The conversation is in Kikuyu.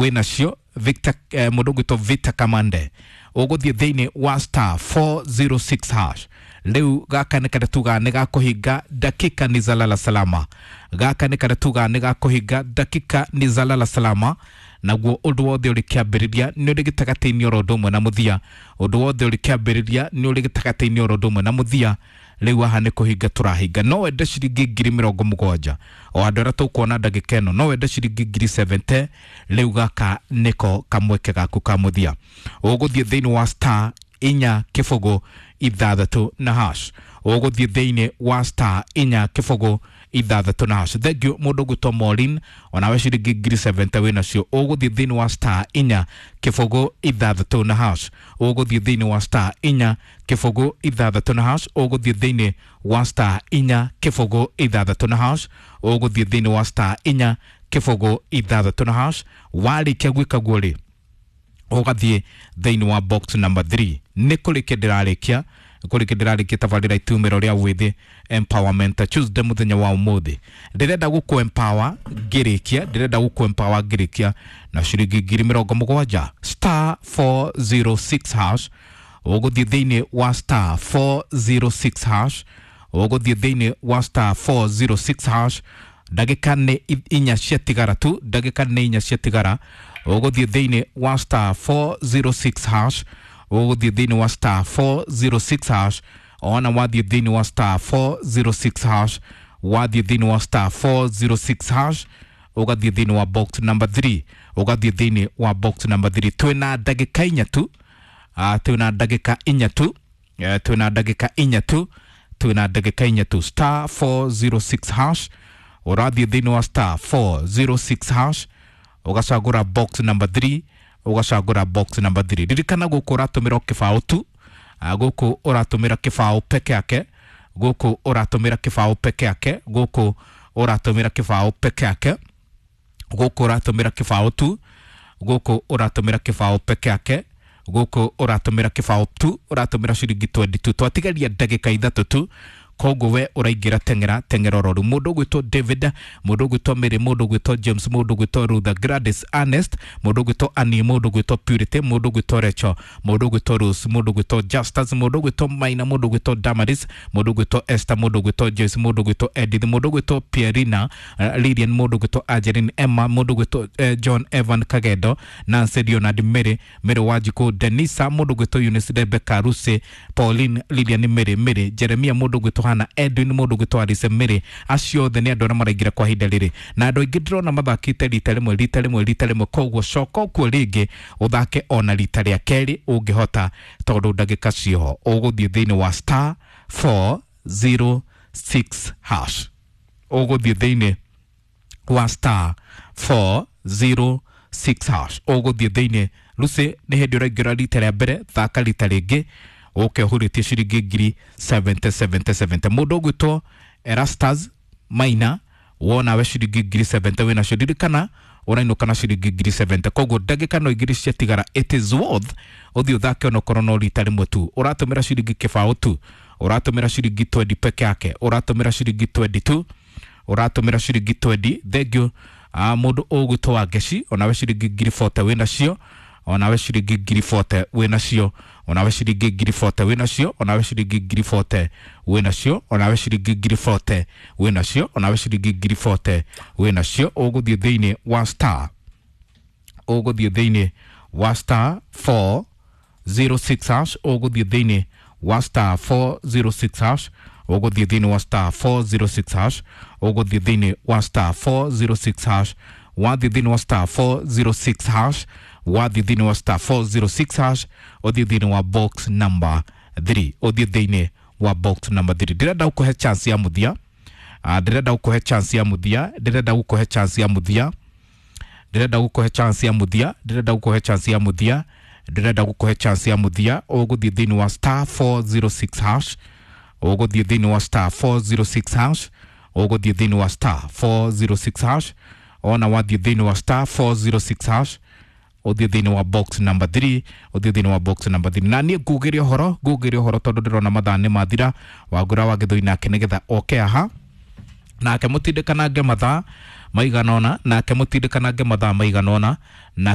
Wĩnacio Victor, mũndũ ũgwĩtwo Victor Kamande, ũgũthiĩ thĩinĩ wa star 406 hash. Rĩu gaka nĩ karĩa tugaga nĩ gakũhinga dakika ni zalala salama. Gaka nĩ karĩa tugaga nĩ gakũhinga dakika ni zalala salama. Naguo ũndũ wothe ũrĩ kĩambĩrĩria nĩ ũrĩ gĩtagatĩ-inĩ oro ũndũ ũmwe na mũthia. Ũndũ wothe ũrĩ kĩambĩrĩria nĩ ũrĩ gĩtagatĩ-inĩ oro ũndũ ũmwe na mũthia. Rĩu haha nĩ kũhinga tũrahinga. No wende ciringi 70,000 o andũ arĩa tũkuona ndagĩka ĩno, no wende ciringi 70,000. Rĩu gaka nĩko kamweke gaku ka mũthia. Ũgũthiĩ thĩinĩ wa star 4 0 6 na hash. Ũgũthiĩ thĩinĩ wa star 4 0 6 na hash. Thank you mũndũ ũgwĩtwo Maureen, onawe ciringi 70,000 wĩnacio. Ũgũthiĩ thĩinĩ wa star 4 0 6 na hash. Ũgũthiĩ thĩinĩ wa star 4 0 6 na hash. Ũgũthiĩ thĩinĩ wa star 4 0 6 na hash. Ũgũthiĩ thĩinĩ wa star 4 0 6 na hash. Warĩkia gwĩka guo rĩ, ũgathiĩ thĩinĩ wa box number 3. Nĩ kũrĩkia ndĩrarĩkia, kũrĩkia ndĩrarĩkia tabarĩra itumĩro rĩa wĩthĩ empowerment Tuesday mũthenya wa ũmũthĩ. Ndĩrenda gũkũ empower ngĩrĩkia, ndĩrenda gũkũ empower ngĩrĩkia na ciringi 70,000. Star 406 hash. Ũgũthiĩ thĩinĩ wa star 406 hash. Ũgũthiĩ thĩinĩ wa star 406 hash. Ndagĩka nĩ 4 ciatigara tu, ndagĩka nĩ 4 ciatigara. Ũgũthiĩ thĩinĩ wa star 406 hash. Ũgũthiĩ thĩinĩ wa star 406 hash. Ona wathiĩ thĩinĩ wa star 406 hash, wathiĩ thĩinĩ wa star 406 hash, ũgathiĩ thĩinĩ wa box number 3. Ũgathiĩ thĩinĩ wa box number 3. Twĩna ndagĩka 4 tu, twĩna ndagĩka 4 tu, twĩna ndagĩka 4 tu, twĩna ndagĩka 4 tu. Star 406 hash. Ũrathiĩ thĩinĩ wa star 406 hash, ũgacagũra box number 3. Ũgacagũra box number 3. Ririkana gũkũ ũratũmĩra o kĩbaũ tu. Gũkũ ũratũmĩra kĩbaũ peke yake. Gũkũ ũratũmĩra kĩbaũ peke yake. Gũkũ ũratũmĩra kĩbaũ peke yake. Gũkũ ũratũmĩra kĩbaũ tu. Gũkũ ũratũmĩra kĩbaũ peke yake. Gũkũ ũratũmĩra kĩbaũ tu. Ũratũmĩra ciringi 22. Twatigaria ndagĩka 3 tu. Koguo we ũraingĩra teng'era teng'era oro rĩu. Mũndũ ũgwĩtwo David, mũndũ ũgwĩtwo Mary, mũndũ ũgwĩtwo James, mũndũ ũgwĩtwo Rutha, Gladys, Ernest, mũndũ ũgwĩtwo Annie, mũndũ ũgwĩtwo Purity, mũndũ ũgwĩtwo Rachel, mũndũ ũgwĩtwo Rose, mũndũ ũgwĩtwo Justus, mũndũ ũgwĩtwo Maina, mũndũ ũgwĩtwo Damaris, mũndũ ũgwĩtwo Esther, mũndũ ũgwĩtwo Joyce, mũndũ ũgwĩtwo Edith, mũndũ ũgwĩtwo Pierina, Lilian, mũndũ ũgwĩtwo Angeline, Emma, mũndũ ũgwĩtwo John Evan Kagendo, Nancy Leonard, Mary, Mary Wanjikũ, Denisa, mũndũ ũgwĩtwo Eunice, Rebecca, Lucy, Pauline, Lilian, Mary, Mary, Jeremia, mũndũ ũgwĩtwo Hana, Edwin, mũndũ ũgwĩtwo Alice, Mary. Acio othe nĩ andũ arĩa maraingĩra kwa ihinda rĩrĩ, na andũ aingĩ ndĩrona mathakĩte rita rĩmwe, rita rĩmwe, rita rĩmwe. Koguo coka kuo rĩngĩ ũthake ona rita rĩa kerĩ ũngĩhota, tondũ ndagĩka cioho. Ũgũthiĩ thĩinĩ wa star 406 hash. Ũgũthiĩ thĩinĩ wa star 406 hash. Ũgũthiĩ thĩinĩ. Lucy, nĩ hĩndĩ ũraingĩra rita rĩa mbere, thaka rita rĩngĩ ũke ũhurĩtie ciringi 70,000 70 70. Mũndũ ũgwĩtwo Erastus Maina, wona we ciringi 70,000 wĩnacio. Ririkana ũrainũka na ciringi 70,000. Koguo ndagĩka no 2 ciatigara. It is worth ũthiĩ ũthake onokorwo no rita rĩmwe tu. Ũratũmĩra ciringi kĩbaũ tu. Ũratũmĩra ciringi 20 peke yake. Ũratũmĩra ciringi 22. Ũratũmĩra ciringi 20. Thank you. Mũndũ ũgwĩtwo Wangeci, onawe ciringi 40,000 wĩnacio. Onawe ciringi 40,000 wĩnacio. Onawe ciringi 40,000 wĩnacio. Onawe ciringi 40,000 wĩnacio. Onawe ciringi 40,000 wĩnacio. Onawe ciringi 40,000 wĩnacio. Ũgũthiĩ thĩinĩ wa star, ũgũthiĩ thĩinĩ wa star 406 hash. Ũgũthiĩ thĩinĩ wa star 406 hash. Ũgũthiĩ thĩinĩ wa star 406 hash. Ũgũthiĩ thĩinĩ wa star 406 hash. Wathiĩ thĩinĩ wa star 406 hash, wathiĩ thĩinĩ wa star 406 hash, ũthiĩ thĩinĩ wa box number 3. Ũthiĩ thĩinĩ wa box number 3. Ndĩrenda gũkũhe chance ya mũthia. Ndĩrenda gũkũhe chance ya mũthia. Ndĩrenda gũkũhe chance ya mũthia. Ndĩrenda gũkũhe chance ya mũthia. Ndĩrenda gũkũhe chance ya mũthia. Ndĩrenda gũkũhe chance ya mũthia. Ũgũthiĩ thĩinĩ wa star 406 hash. Ũgũthiĩ thĩinĩ wa star 406 hash. Ũgũthiĩ thĩinĩ wa star 406 hash. Ona wathiĩ thĩinĩ wa star 406 hash, ũthiĩ thĩinĩ wa box number 3. Ũthiĩ thĩinĩ wa box number 3. Na niĩ ngugĩre ũhoro, ngugĩre ũhoro tondũ ndĩrona mathaa nĩ mathira. Wangũra wa Gĩthũi nake nĩgetha oke aha nake mũtindikanange mathaa. maiganona, nake mũtindikanange mathaa maiganona na.